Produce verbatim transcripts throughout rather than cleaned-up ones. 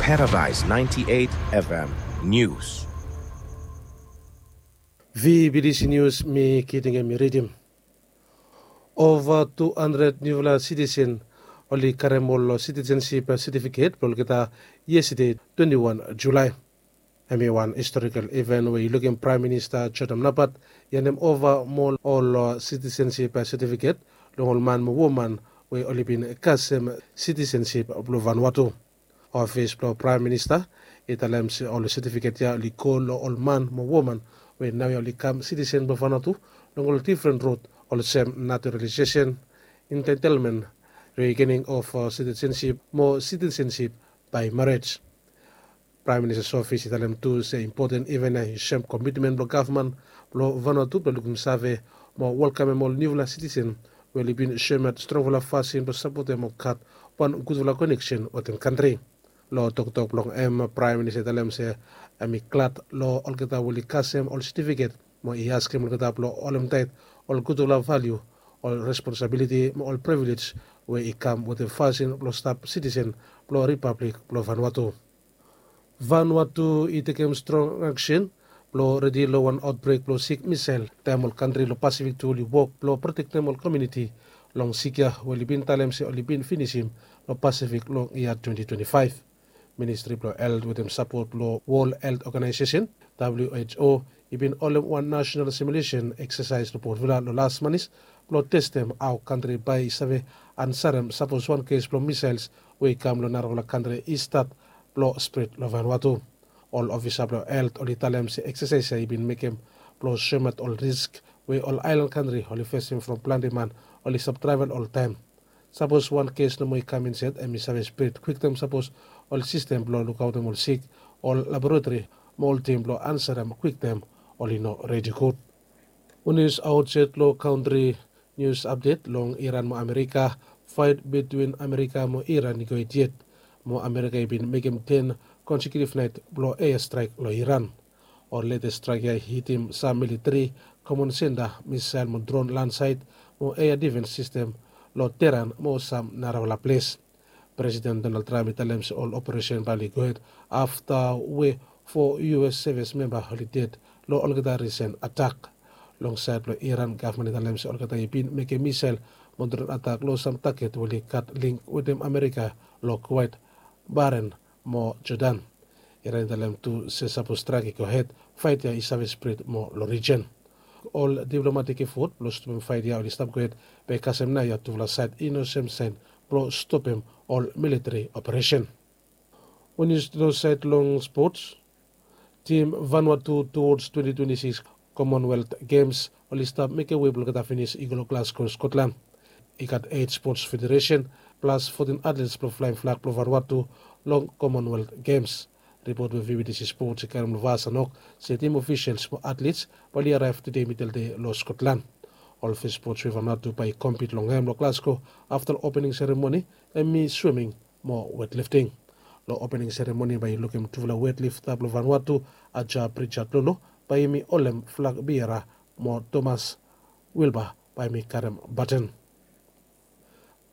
Paradise ninety-eight F M News. V B D C News, mi Kiting em i ridim. Ova tu handred niufala sitisen oli karem ol sitisen sip setifiket blong olgeta yestade, twenti wan Julae. Hem i wan historikal iven we i lukim Praem Minista Jodam Napat i handem ova moa ol sitisen sip setifiket long ol man mo woman we oli bin kasem sitisen sip blong Vanuatu. Ofis blong Praem Minista i talem se ol setifiket ya oli go long ol man mo woman we naoia oli kam sitisen blong Vanuatu long ol difren rod, olsem naturalisesen, entaitelmen, rigening of sitisensip mo sitisensip bae marej. Praem Ministas ofis i talem tu se impoten iven ya i sem komitmen blong gavman blong Vanuatu blong lukim save mo welkamem ol niufala sitisen we oli bin soemaot strongfala fasin blong sapotem mo gat wan gudfala koneksen wetem kantri. Long toktok blong hem, Praem Minista i talem se hem i glad long olgeta we oli kasem ol setifiket mo i askem olgeta blong holem taet ol gudfala valiu, ol responsabiliti mo ol privilej we i kam wetem fasin blong stap sitisen blong Ripablik blong Vanuatu. Vanuatu i tekem strong aksen blong redi long wan aotbrek blong sik misael, taem ol kantri long Pasifik tu oli wok blong protektem ol komuniti long sik ya we oli bin talem se oli bin finisim long Pasifik long yia twenti twenti faef. Ministri blong Helt wetem sapot blong Wol Helt Oganaesesen, W H O, i bin holem wan nasenal simulesen eksasaes long Port Vila long las manis blong testem hao kantri bae i save ansarem sapos wan kes blong misaels we i kam long narafala kantri i stat blong spred long Vanuatu. Ol ofisa blong Helt oli talem se eksasaes ya i bin mekem blong soemaot ol risk we ol aelan kantri oli fesem from plante man oli stap travel oltaem. Sapos wan kes nomo i kam insaed, hem i save spred kwiktaem sapos ol sistem blong lukaotem ol sik, ol laboratori mo ol tim blong ansarem kwiktaem oli no redi gud. Ol nius aotsaed long kantri. Nius apdet long Iran mo Amerika. Faet bitwin Amerika mo Iran i go hed yet mo Amerika i bin mekem ten konsekiutiv naet blong eastraek long Iran. Ol letes straek ya i hitim sam militri komon senta, misael mo dron, lansaet mo ea difens sistem long Teheran mo sam narafala ples. Presiden Donald Trump i talem se ol operesen bae oli gohed afta we fo U S sevis memba oli ded long olgeta risen atak. Long saed blong Iran, gavman i talem se olgeta i bin mekem misael mo dron atak long sam taget we oli gat link wetem Amerika long Kuwait, Bahrain mo Jordan. Iran i talem tu se sapos straek i gohed, faet ya i save spred moa long rijen. Ol diplomatik efot blong stopem faet ya oli stap gohed, be kasem naoia tufala saed i no sem saen blong stopem ol militri operesen. Wen yu stap long saed long spots, tim Vanuatu towards twenty twenty-six Commonwealth Games oli stap mekem wei blong olgeta finis i go long Glasgow, Scotland. I gat eit spots federesen plas fotin atlets blong flaem flag blong Vanuatu long Commonwealth Games. Ripot we V B T C Sports i karem long Vasanok se tim ofisels mo atlets bae oli araev tude midel dei long Scotland. Ol fes spots we Vanuatu bae i kompit long hem long Glasgow afta long opening seremoni hem i swiming mo wetlifting. Long opening seremoni bae i lukim tufala wetlifta blong Vanuatu, Aja Pritchard Lolo bae hem i holem flag biera mo Thomas Wilbur bae hem i karem baton.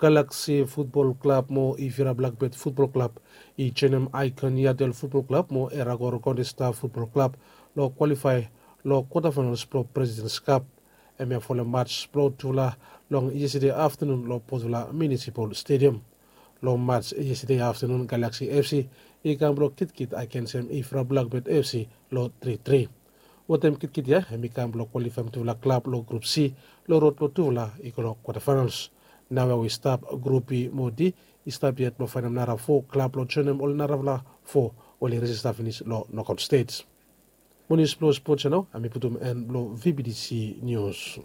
Galaxy Futbol Klab mo Ifira Blakbet Futbol Klab i joenem Icon Yattel Futbol Klab mo Eragor Golden Star Futbol Klab long kwalifae long kwatafainals blong Presidents Cup. Hemia folem mats blong tufala long yestade aftanun long Port Vila Municipal Stadium. Long mats yestade aftanun, Galaxy F C i kam blong kitkit agensem Ifira Blakbet F C long tri tri. Wetem kitkit ya hem i kam blong kwalifaem tufala klab long Grup C long rod blong tufala i go long kwatafainals. Naoia we i stap Grup B mo D i stap yet blong faenem nara fo klab blong joenem ol narafala fo we oli rejista finis long nokaot stej. Mo nius blong spots ya nao hem i putum en blong V B T C Nius.